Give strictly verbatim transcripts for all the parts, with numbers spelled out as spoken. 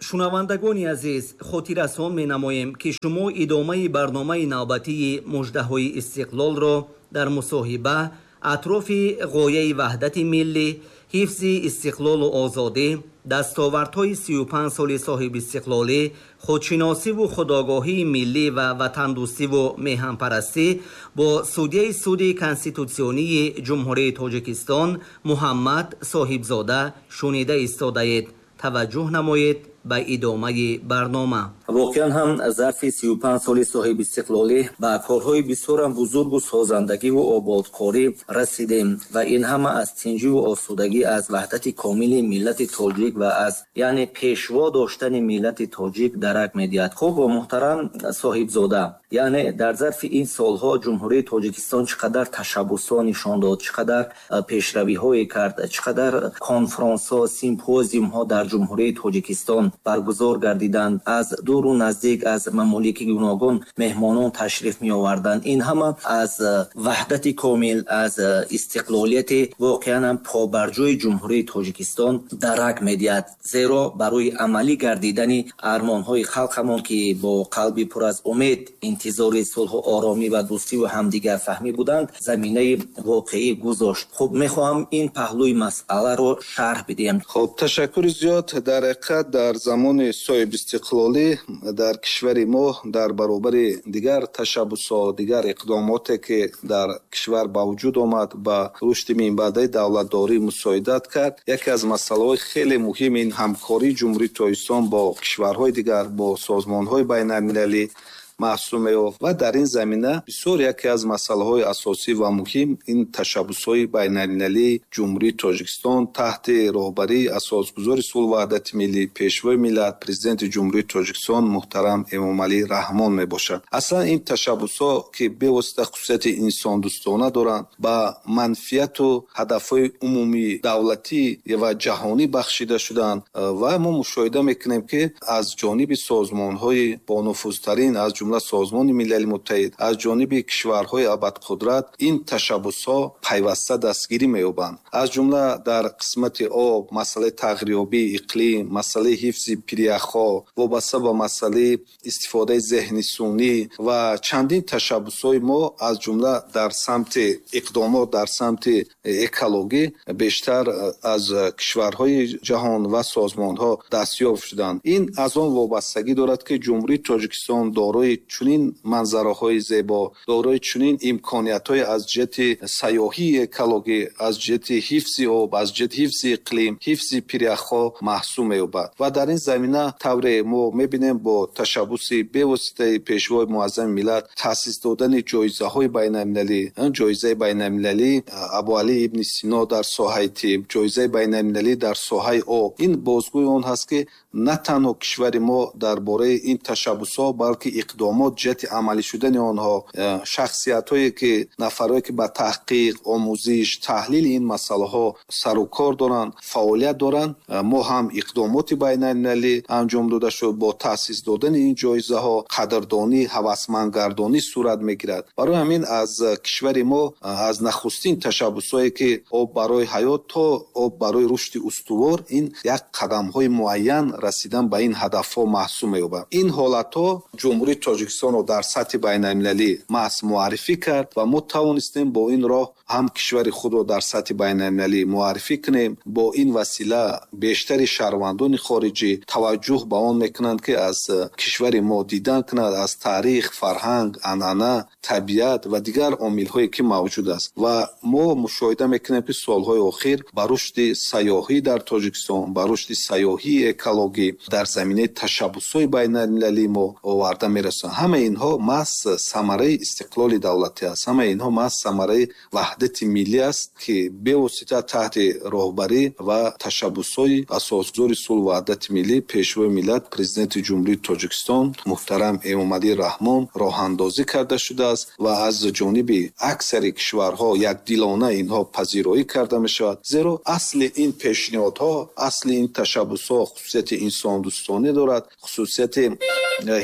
Шунавандагони азиз, хотиррасон менамоем, ки шумо идомаи барномаи навбатии муждаҳои истиқлолро дар мусоҳиба атрофи ғояи ваҳдати миллӣ, ҳифзи истиқлолу озодӣ, дастовардҳои сию панҷ соли соҳибистиқлолӣ, худшиносиву худогоҳии миллӣ ва ватандӯстиву меҳанпарастӣ бо судяи суди конститутсионии Ҷумҳурии Тоҷикистон Муҳаммад Соҳибзода шунида истодаед. Таваҷҷӯҳ намоед ба идомаи барнома. Воқеан ҳам зарфи сию панҷ соли соҳибистиқлолӣ ба корҳои бисёрам бузургу созандагиву ободкорӣ расидем ва ин ҳама аз тинҷиву осудагӣ, аз ваҳдати комили миллати тоҷик ва аз яъне пешво доштани миллати тоҷик дарак медиҳад. Хуб, муҳтарам Соҳибзода, яъне дар зарфи ин солҳо Ҷумҳурии Тоҷикистон чӣ қадар ташаббусҳо нишон дод, чӣ қадар пешравиҳое кард, чӣ қадар конфронсҳо, симпозиумҳо дар Ҷумҳурии Тоҷикистон баргузор гардиданд, аз дуру наздик, аз мамолики гуногун меҳмонон ташриф меоварданд. Ин ҳама аз ваҳдати комил, аз истиқлолияти воқеан ҳам побарҷои Ҷумҳурии Тоҷикистон дарак медиҳад. Зеро барои амалӣ гардидани армонҳои халқамон, ки бо қалби пур аз умед интизори сулҳу оромӣ ва дӯстиву ҳамдигарфаҳмӣ буданд, заминаи воқеӣ гузошт. Хуб, мехоҳам ин паҳлӯи масъаларо шарҳ бидиҳем. Хуб, ташаккури зиёд. Дар ҳақиқат дар замони соҳибистиқлолӣ дар кишвари мо дар баробари дигар ташаббусҳо, дигар иқдомоте, ки дар кишвар ба вуҷуд омад, ба рушди минбаъдаи давлатдорӣ мусоидат кард, яке аз масъалаҳои хеле муҳим ин ҳамкории Ҷумҳурии Тоҷикистон бо кишварҳои дигар, бо созмонҳои байналмилалӣ маҳсуб меёфт. Ва дар ин замина бисёр яке аз масъалаҳои асосӣ ва муҳим ин ташаббусҳои байналмилалии Ҷумҳурии Тоҷикистон таҳти роҳбарии асосгузори сулҳу ваҳдати миллӣ, Пешвои миллат, Президенти Ҷумҳурии Тоҷикистон муҳтарам Эмомалӣ Раҳмон мебошад. Аслан ин ташаббусҳо, ки бевосита хусусияти инсондӯстона доранд, ба манфиату ҳадафҳои умумии давлатӣ ва ҷаҳонӣ бахшида шуданд ва мо мушоҳида мекунем, ки аз ҷониби созмонҳои бонуфузтарин, аз ҷумла Созмони Милали Муттаҳид, аз ҷониби кишварҳои абадқудрат ин ташаббусҳо пайваста дастгирӣ меёбанд. Аз ҷумла дар қисмати об, масъалаи тағйирёбии иқлим, масъалаи ҳифзи пиряхҳо, вобаста ба масъалаи истифодаи зеҳни сунъӣ ва чандин ташаббусҳои мо, аз ҷумла дар самти иқдомот дар самти экологӣ бештар аз кишварҳои ҷаҳон ва созмонҳо дастёб шуданд. Ин аз он вобастагӣ дорад, ки Ҷумҳурии Тоҷикистон дорои чунин манзараҳои зебо, дорои чунин имкониятҳои аз ҷиҳати сайёҳии экологӣ, аз ҷиҳати ҳифзи об, аз ҷиҳати ҳифзи иқлим, ҳифзи пиряхҳо маҳсуб меёбад. Ва дар ин замина тавре мо мебинем, бо ташаббуси бевоситаи Пешвои муаззами миллат таъсис додани ҷоизаҳои байналмилалӣ, ҷоизаи байналмилалӣ Абуалӣ ибни Сино дар соҳаи тиб, ҷоизаи байналмилалӣ дар соҳаи об, ин бозгӯи он ҳаст, ки на танҳо кишвари мо дар бораи ин ташаббусҳо, балки иқдомот ҷиҳати амалӣ шудани онҳо, шахсиятҳое ки нафарое ки ба таҳқиқ, омӯзиш, таҳлили ин масъалаҳо сару кор доранд, фаъолият доранд, мо ҳам иқдомоти байналмилалӣ анҷом дода шуд. Бо таъсис додани ин ҷоизаҳо қадрдонӣ, ҳавасмандгардонӣ сурат мегирад. Барои ҳамин аз кишвари мо аз нахустин ташаббусҳое ки об барои ҳаёт то об барои рушди устувор, ин як қадамҳои муайян расидан ба ин ҳадафҳо маҳсуб меёбад. Ин ҳолатҳо Ҷумҳурии Тоҷикистонро дар сатҳи байналмилалӣ маҳз муаррифӣ кард ва мо тавонистем бо ин роҳ ҳам кишвари худро дар сатҳи байналмилалӣ муаррифӣ кунем. Бо ин васила бештари шаҳрвандони хориҷӣ таваҷҷӯҳ ба он мекунанд, ки аз кишвари мо дидан кунанд, аз таърих, фарҳанг, анъана, табиат ва дигар омилҳое ки мавҷуд аст. Ва мо мушоҳида мекунем, ки солҳои охир ба рушди сайёҳӣ дар Тоҷикистон, ба рушди сайёҳии экологӣ дар заминаи ташаббусҳои байналмилалии мо оварда мерасонанд. Ҳамаи инҳо маҳз самараи истиқлоли давлатӣ аст. Ҳамаи инҳо маҳз самараи ваҳдати миллӣ аст, ки бевосита таҳти роҳбарӣ ва ташаббусҳои асосгузори сулҳу ваҳдати миллӣ, Пешвои миллат, Президенти Ҷумҳурии Тоҷикистон муҳтарам Эмомалӣ Раҳмон роҳандозӣ карда шудааст ва аз ҷониби аксари кишварҳо якдилона инҳо пазироӣ карда мешавад. Зеро асли ин пешниҳодҳо, асли ин ташаббусҳо хусусияти инсондӯстонӣ дорад, хусусияти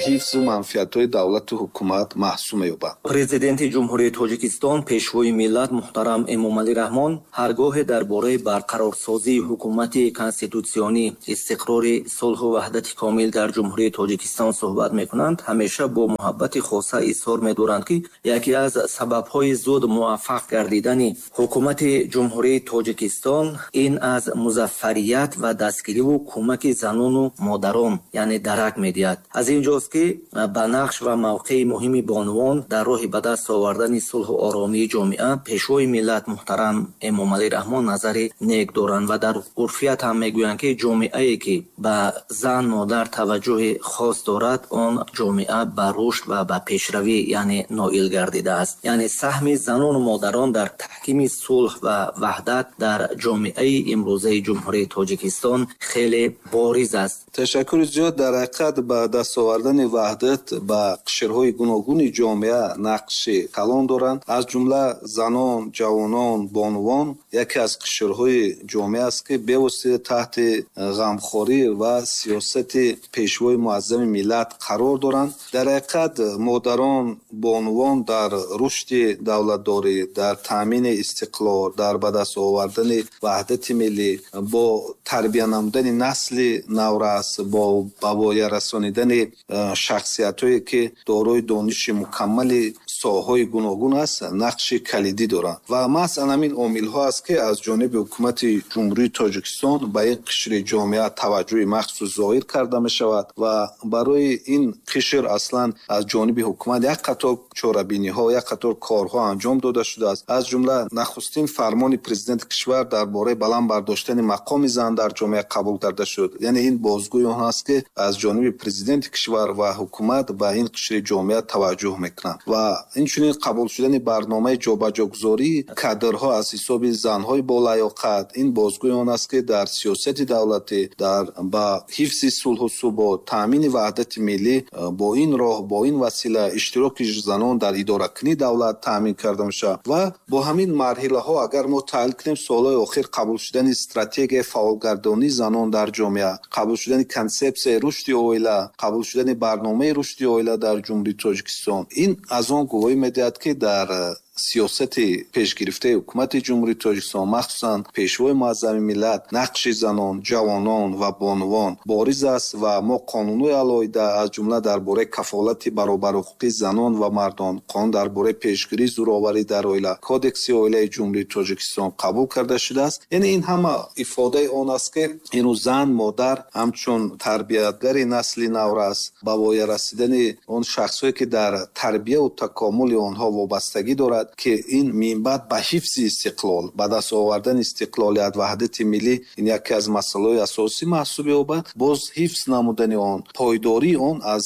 ҳифзу манфиатҳои давлату ҳукумат маҳсуб меёбад. Президенти Ҷумҳурии Тоҷикистон, Пешвои миллат муҳтарам Эмомалӣ Раҳмон ҳаргоҳе дар бораи барқарорсозии ҳукумати конститутсионӣ, истиқрори сулҳу ваҳдати комил дар Ҷумҳурии Тоҷикистон суҳбат мекунанд, ҳамеша бо муҳаббати хоса изҳор медоранд, ки яке аз сабабҳои зуд муваффақ гардидани ҳукумати Ҷумҳурии Тоҷикистон ин аз музаффарият ва дастгириву кӯмаки занону модарон, яъне дарак медиҳад. Аз ин ҷост, ки ба нақш ва мавқеи муҳими бонувон дар роҳи ба даст овардани сулҳу оромии ҷомеа Пешвои миллат муҳтарам Эмомалӣ Раҳмон назари нек доранд ва дар урфият ҳам мегӯянд, ки ҷомеае, ки ба зан модар таваҷҷӯҳи хос дорад, он ҷомеа ба рушд ва ба пешравӣ яъне ноил гардидааст. Яъне саҳми занону модарон дар таҳкими сулҳ ва ваҳдат дар ҷомеаи имрӯзаи Ҷумҳурии Тоҷикистон хеле бориз аст. Ташаккури зиёд. Дар ҳақиқат ба даст овардани ваҳдат ба қишрҳои гуногуни ҷомеа нақши калон доранд. Аз ҷумла занон, ҷавонон, бонувон яке аз қишрҳои ҷомеа аст, ки бевосита таҳти ғамхорӣ ва сиёсати Пешвои муаззами миллат қарор доранд. Дар ҳақиқат модарон, бонувон дар рушди давлатдорӣ, дар таъмини истиқлол, дар ба даст овардани ваҳдати миллӣ, бо тарбия намудани насли наврас, бо ба воя расонидани шахсиятҳое, ки дорои дониши мукаммали соҳаҳои гуногун аст, нақши калидӣ доранд. Ва маҳз ҳамин омилҳо аст, ки аз ҷониби ҳукумати Ҷумҳурии Тоҷикистон ба ин қишри ҷомеа таваҷҷӯҳи махсус зоҳир карда мешавад ва барои ин қишр аслан аз ҷониби ҳукумат як қатор чорабиниҳо, як қатор корҳо анҷом дода шудааст. Аз ҷумла нахустин фармони президенти кишвар дар бораи баланд бардоштани мақоми зан дар ҷомеа қабул карда шуд. Яъне ин бозгӯи он аст, ки аз ҷониби президенти кишвар ва ҳукумат ба ин қишри ҷомеа таваҷҷӯҳ мекунанд. Ва инчунин қабул шудани барномаи ҷобаҷогузории кадрҳо аз ҳисоби занҳои болаёқат, ин бозгӯи он аст, ки дар сиёсати давлатӣ, дар ба ҳифзи сулҳу субот, таъмини ваҳдати миллӣ бо ин роҳ, бо ин васила иштироки занон дар идоракунии давлат таъмин карда мешавад. Ва бо ҳамин марҳилаҳо агар мо таҳлил кунем, солҳои охир қабул шудани стратегияи фаъолгардонии занон дар ҷомеа, қабул шудани консепсияи рушди оила, қабул шудани барномаи рушди оила дар Ҷумҳурии Тоҷикистон, ин аз он гувоҳӣ медиҳад, ки дар сиёсати пешгирифтаи ҳукумати Ҷумҳурии Тоҷикистон, махсусан Пешвои муаззами миллат, нақши занон, ҷавонон ва бонувон бориз аст ва мо қонунҳои алоҳида, аз ҷумла дар бораи кафолати баробарҳуқуқии занон ва мардон, қонун дар бораи пешгирии зӯроварӣ дар оила, Кодекси оилаи Ҷумҳурии Тоҷикистон қабул карда шудааст. Яъне ин ҳама ифодаи он аст, ки имрӯз зан, модар ҳамчун тарбиятгари насли наврас, ба воя расидани он шахсҳое, ки дар тарбияву такомули онҳо вобастагӣ дорад, ки ин минбаъд ба ҳифзи истиқлол, ба даст овардани истиқлолият, ваҳдати миллӣ ин яке аз масъалаҳои асосӣ маҳсуб меёбад. Боз ҳифз намудани он, пойдории он аз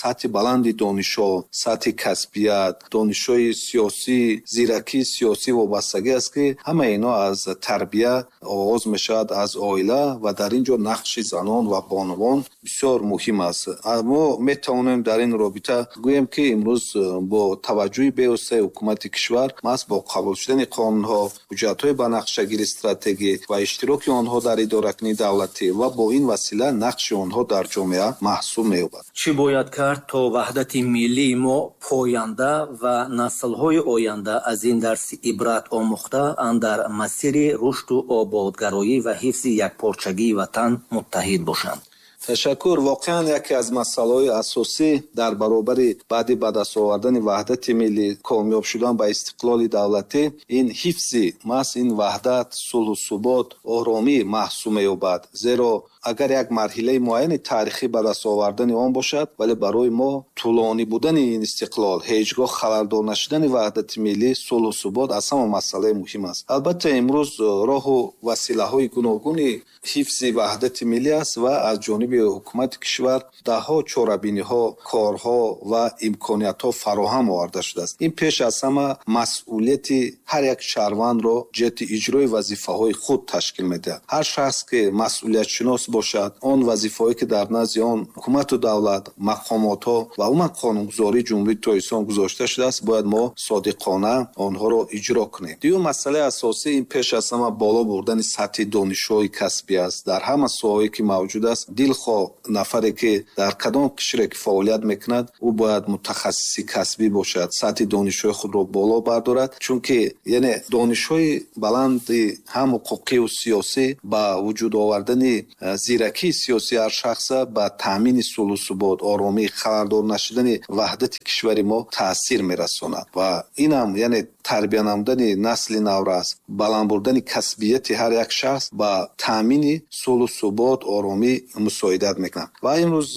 сатҳи баланди донишҳо, сатҳи касбият, донишҳои сиёсӣ, зиракии сиёсӣ вобастагӣ аст, ки ҳамаи инҳо аз тарбия оғоз мешавад, аз оила, ва дар ин ҷо нақши занон ва бонувон бисёр муҳим аст. Мо метавонем дар ин робита гӯем, ки имрӯз бо таваҷҷӯҳи бевоситаи ҳукумати кишвар, маҳз бо қабул шудани қонунҳо, ҳуҷҷатҳои ба нақшагири стратегӣ ва иштироки онҳо дар идоракунии давлатӣ ва бо ин васила нақши онҳо дар ҷомеа маҳсуб меёбад. Чӣ бояд кард то ваҳдати миллии мо поянда ва наслҳои оянда аз ин дарси ибрат омӯхта андар масири рушду ободгароӣ ва ҳифзи якпорчагии ватан муттаҳид бошанд? Ташаккур. Воқеан яке аз масъалаҳои асосӣ дар баробари баъди ба даст овардани ваҳдати миллӣ, комёб шудан ба истиқлоли давлатӣ, ин ҳифзи маҳз ин ваҳдат, сулҳу субот, оромӣ маҳсуб меёбад. Зеро агар як марҳилаи муайяни таърихӣ ба даст овардани он бошад, вале барои мо тӯлонӣ будани ин истиқлол, ҳеҷ гоҳ халалдор нашудани ваҳдати миллӣ, сулҳу субот аз ҳама масъалаи муҳим аст. Албатта имрӯз роҳу василаҳои гуногуни ҳифзи ваҳдати миллӣ аст ва аз ҷониби ҳукумати кишвар даҳҳо чорабиниҳо, корҳо ва имкониятҳо фароҳам оварда шудааст. Ин пеш аз ҳама масъулияти ҳар як шаҳрвандро ҷиҳати иҷрои вазифаҳои худ ташкил медиҳад. Ҳар шахс, ки масъулиятшинос бошад, он вазифаҳое, ки дар назди он ҳукумату давлат, мақомотҳо ва умуман қонунгузории Ҷумҳурии Тоҷикистон гузошта шудааст, бояд мо содиқона онҳоро иҷро кунем. Дуюм масъалаи асосӣ ин пеш аз ҳама боло бурдани сатҳи донишҳои касбӣ аст. Дар ҳама соҳаҳое, ки мавҷуд аст, дилхоҳ Дилхоҳ нафаре ки дар кадом кишваре ки фаъолият мекунад, ӯ бояд мутахассиси касбӣ бошад, сатҳи донишҳои худро боло бардорад, чунки яъне донишҳои баланди ҳам ҳуқуқию сиёсӣ ба вуҷуд овардани зиракии сиёсии ҳар шахса ба таъмини сулҳу субот, оромӣ, хабардор нашудани ваҳдати кишвари мо таъсир мерасонад. Ва инам яъне тарбия намудани насли наврас, баланд бурдани касбияти ҳар як шахс ба таъмини сулҳу субот, оромӣ мусоидат мекунад. Ва имрӯз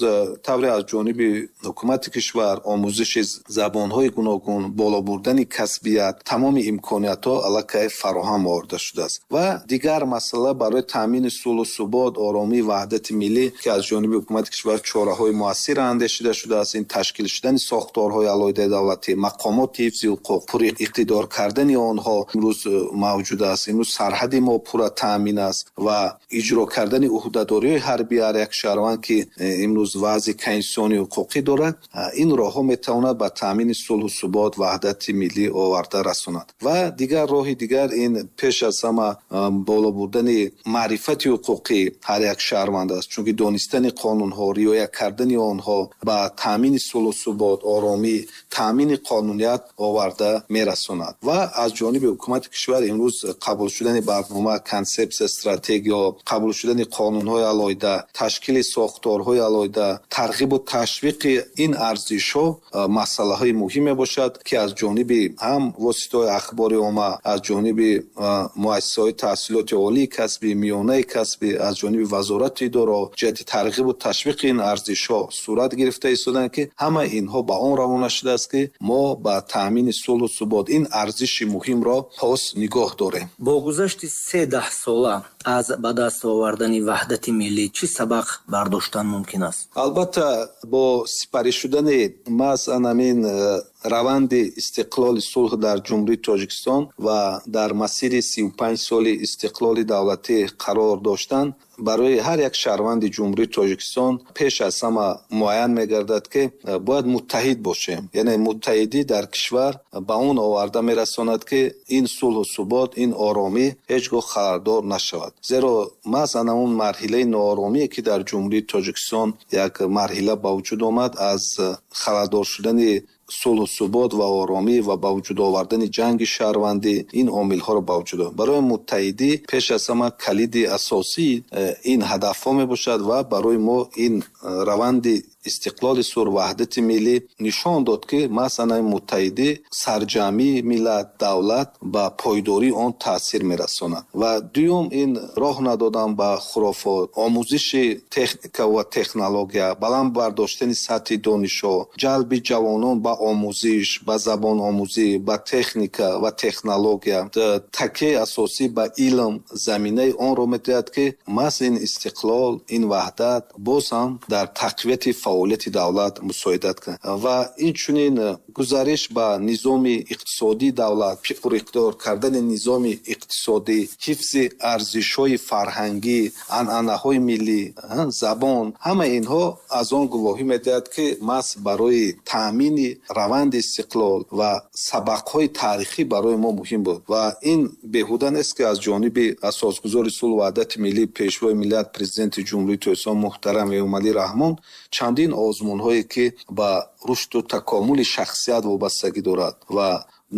тавре аз ҷониби ҳукумати кишвар омӯзиши забонҳои гуногун, боло бурдани касбият, тамоми имкониятҳо аллакай фароҳам оварда шудааст. Ва дигар масъала барои таъмини сулҳу субот, оромӣ, ваҳдати миллӣ, ки аз ҷониби ҳукумати кишвар чораҳои муассир андешида шудааст, ин ташкил шудани сохторҳои алоҳидаи давлатӣ, мақомоти ҳифзи ҳуқуқ, пуриқтидор кардани онҳо имрӯз мавҷуд аст. Имрӯз сарҳади мо пурра таъмин аст ва иҷро кардани ӯҳдадориҳои ҳарбии ҳар як шаҳрванд, ки имрӯз вазъи конститутсионии ҳуқуқӣ дорад, ин роҳҳо метавонад ба таъмини сулҳу субот, ваҳдати миллӣ оварда расонад. Ва дигар роҳи дигар ин пеш аз ҳама боло бурдани маърифати ҳуқуқӣ ҳар як шаҳрванд аст, чунки донистани қонунҳо, риоя кардани онҳо ба таъмини сулҳу субот, оромӣ, таъмини қонуният оварда мерасонад. Ва аз ҷониби ҳукумати кишвар имрӯз қабул шудани барнома, консепсия, стратегия, қабул шудани қонунҳои алоҳида, ташкили сохторҳои алоҳида, тарғибу ташвиқи ин арзишҳо масъалаҳои муҳим мебошад, ки аз ҷониби ҳам воситаҳои ахбори омма, аз ҷониби муассисаҳои таҳсилоти олии касбӣ, миёнаи касбӣ, аз ҷониби вазорати идораҳо ҷиҳати тарғибу ташвиқи ин арзишҳо сурат гирифта истоданд, ки ҳама инҳо ба он равона шудааст, ки мо ба таъмини сулҳу субот ин арзиши муҳимро пос нигоҳ дорем. Бо гузашти се даҳсола аз ба даст овардани ваҳдати миллӣ чӣ сабақ бардоштан мумкин аст? Албатта, бо сипарӣ шудани маҳз ҳамин раванди истиқлоли сулҳ дар Ҷумҳурии Тоҷикистон ва дар масири сию панҷ соли истиқлоли давлатӣ қарор доштан, барои ҳар як шаҳрванди Ҷумҳурии Тоҷикистон пеш аз ҳама муайян мегардад, ки бояд муттаҳид бошем. Яъне муттаҳидӣ дар кишвар ба он оварда мерасонад, ки ин сулҳу субот, ин оромӣ ҳеҷ гоҳ хабардор нашавад. Зеро маҳз ҳамон марҳилаи нооромие, ки дар Ҷумҳурии Тоҷикистон як марҳила ба вуҷуд омад, аз хабардор шудани сулҳу субот ва оромӣ ва ба вуҷуд овардани ҷанги шаҳрвандӣ ин омилҳоро ба вуҷуд овард. Барои муттаҳидӣ пеш аз ҳама калиди асосии ин ҳадафҳо мебошад ва барои мо ин раванди истиқлоли сур, ваҳдати миллӣ нишон дод, ки масалан муттаҳидӣ сарҷамъии миллат, давлат ба пойдории он таъсир мерасонад. Ва дуюм ин роҳ надодан ба хурофот, омӯзиши техника ва технология, баланд бардоштани сатҳи донишҳо, ҷалби ҷавонон ба омӯзиш, ба забономӯзӣ, ба техника ва технология, такияи асосӣ ба илм заминаи онро медиҳад, ки маҳз ин истиқлол, ин ваҳдат боз ҳам дар тақвияти фаъолияти давлат мусоидат кунад. Ва инчунин гузариш ба низоми иқтисодии давлат, пуриқтидор кардани низоми иқтисодӣ, ҳифзи арзишҳои фарҳангӣ, анъанаҳои миллӣ, забон, ҳама инҳо аз он гувоҳӣ медиҳад, ки маҳз барои таъмини раванди истиқлол ва сабақҳои таърихӣ барои мо муҳим буд. Ва ин беҳуда нест, ки аз ҷониби асосгузори сулҳу ваҳдати миллӣ, пешвои миллат, президенти Ҷумҳурии Тоҷикистон муҳтарам Эмомалӣ Раҳмон чандин озмунҳое, ки ба рушду такомули шахсият вобастагӣ дорад ва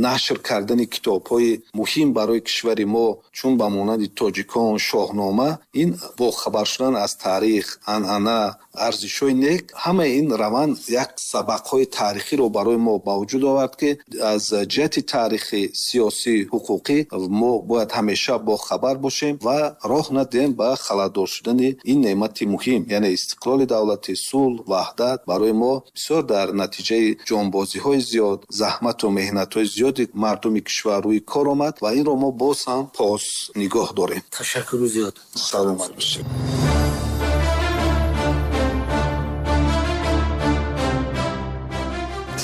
нашр кардани китобҳои муҳим барои кишвари мо, чун ба монанди тоҷикон, Шоҳнома, ин бохабар шудан аз таърих, анъана, арзишҳои нек, ҳамаи ин раванд як сабақҳои таърихиро барои мо ба вуҷуд овард, ки аз ҷиҳати таърихӣ, сиёсӣ, ҳуқуқӣ мо бояд ҳамеша бохабар бошем ва роҳ надиҳем ба халалдор шудани ин неъмати муҳим, яъне истиқлоли давлатӣ, сулҳ, ваҳдат барои мо бисёр дар натиҷаи ҷонбозиҳои зиёд, заҳмату меҳнатҳои зиёди мардуми кишвар рӯи кор омад ва инро мо боз ҳам пос нигоҳ дорем. Ташаккури зиёд. Саломат бошед.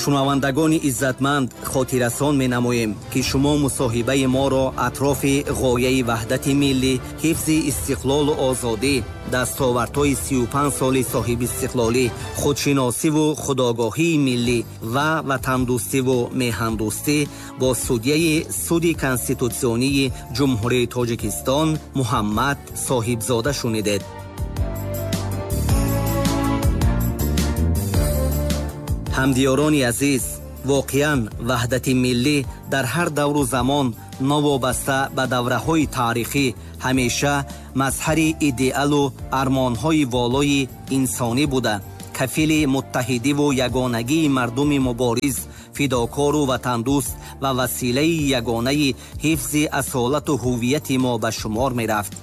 Шунавандагони иззатманд, хотиррасон менамоем, ки шумо мусоҳибаи моро атрофи ғояи ваҳдати миллӣ, ҳифзи истиқлолу озодӣ, дастовардҳои сию панҷ соли соҳибистиқлолӣ, худшиносиву худогоҳии миллӣ ва ватандӯстиву меҳандӯстӣ бо судяи суди конститутсионии Ҷумҳурии Тоҷикистон Муҳаммад Соҳибзода шунидед. Ҳамдиёрони азиз, воқеан ваҳдати миллӣ дар ҳар давру замон новобаста ба давраҳои таърихӣ ҳамеша мазҳари идеалу армонҳои волои инсонӣ буда, кафили муттаҳидиву ягонагии мардуми мубориз, фидокору ватандӯст ва василаи ягонаи ҳифзи асолату ҳуввияти мо ба шумор мерафт.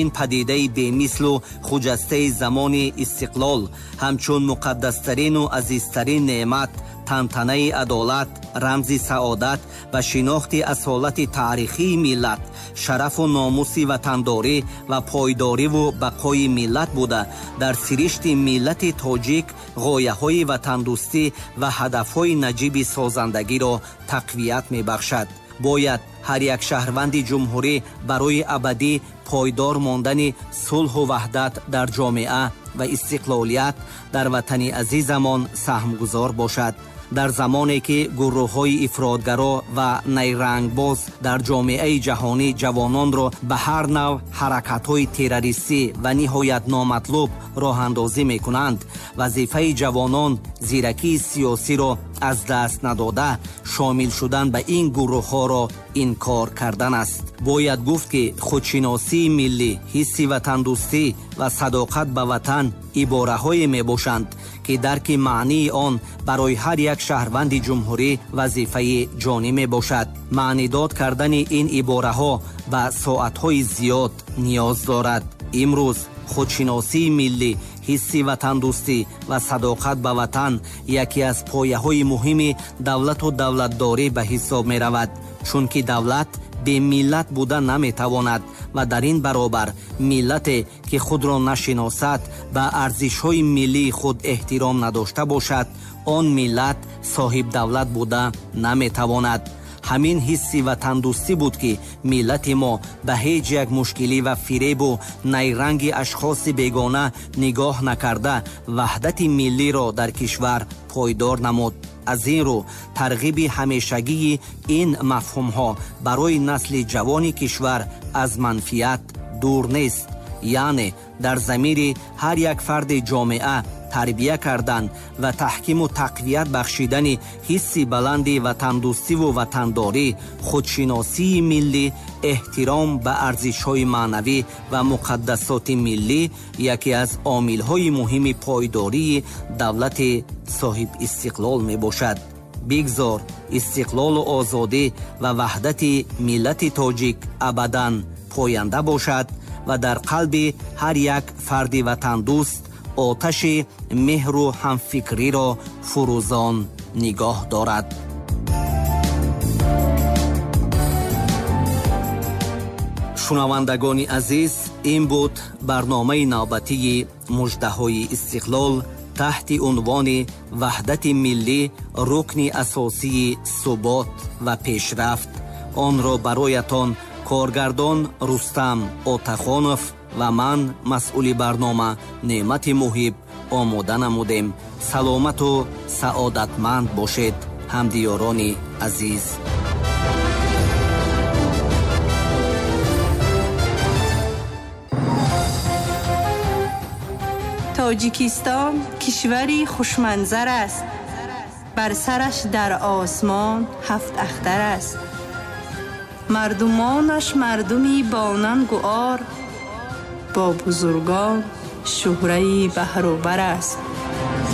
Ин падидаи бемислу хуҷастаи замони истиқлол ҳамчун муқаддастарину азизтарин неъмат, тантанаи адолат, рамзи саодат ва шинохти асолати таърихии миллат, шарафу номуси ватандорӣ ва пойдориву бақои миллат буда, дар сиришти миллати тоҷик ғояҳои ватандӯстӣ ва ҳадафҳои наҷиби созандагиро тақвият мебахшад. Бояд ҳар як шаҳрванди ҷумҳурӣ барои абадӣ пойдор мондани сулҳу ваҳдат дар ҷомеа ва истиқлолият дар ватани азизамон саҳмгузор бошад. Дар замоне ки гурӯҳҳои ифротгаро ва найрангбоз дар ҷомеаи ҷаҳонӣ ҷавононро ба ҳар нав ҳаракатҳои террористӣ ва ниҳоят номатлуб роҳандозӣ мекунанд, вазифаи ҷавонон зиракии сиёсиро аз даст надода шомил шудан ба ин гурӯҳҳоро инкор кардан аст. Бояд гуфт, ки худшиносии миллӣ, ҳисси ватандӯстӣ ва садоқат ба ватан ибораҳое мебошанд, ки дарки маънии он барои ҳар як шаҳрванди ҷумҳурӣ вазифаи ҷонӣ мебошад. Маънидод кардани ин ибораҳо ба соатҳои зиёд ниёз дорад. Имрӯз худшиносии миллӣ, ҳисси ватандӯстӣ ва садоқат ба ватан яке аз пояҳои муҳими давлату давлатдорӣ ба ҳисоб меравад, чунки давлат бемиллат буда наметавонад ва дар ин баробар миллате ки худро нашиносад, ба арзишҳои миллии худ эҳтиром надошта бошад, он миллат соҳибдавлат буда наметавонад. Ҳамин ҳисси ватандӯстӣ буд, ки миллати мо ба ҳеҷ як мушкилӣ ва фиребу найранги ашхоси бегона нигоҳ накарда ваҳдати миллиро дар кишвар пойдор намуд. Аз ин рӯ тарғиби ҳамешагии ин мафҳумҳо барои насли ҷавони кишвар аз манфиат дур нест, яъне дар замири ҳар як фарди ҷомеа тарбия кардан ва таҳкиму тақвият бахшидани ҳисси баланди ватандӯстиву ватандорӣ, худшиносии миллӣ, эҳтиром ба арзишҳои маънавӣ ва муқаддасоти миллӣ яке аз омилҳои муҳими пойдории давлати соҳибистиқлол мебошад. Бигзор истиқлолу озодӣ ва ваҳдати миллати тоҷик абадан поянда бошад ва дар қалби ҳар як фарди ватандӯст оташи меҳру ҳамфикриро фурӯзон нигоҳ дорад. Шунавандагони азиз, ин буд барномаи навбатии муждаҳои истиқлол таҳти унвони ваҳдати миллӣ, рукни асосии субот ва пешрафт. Онро бароятон коргардон Рустам Отахонов ва ман, масъули барнома Неъмати Муҳиб, омода намудем. Саломату саодатманд бошед, ҳамдиёрони азиз. Тоҷикистон кишвари хушманзар аст, бар сараш дар осмон ҳафт ахтар аст. Мардумонаш мардуми бонангу ор, бо бузургон шӯҳраи баҳрубар аст.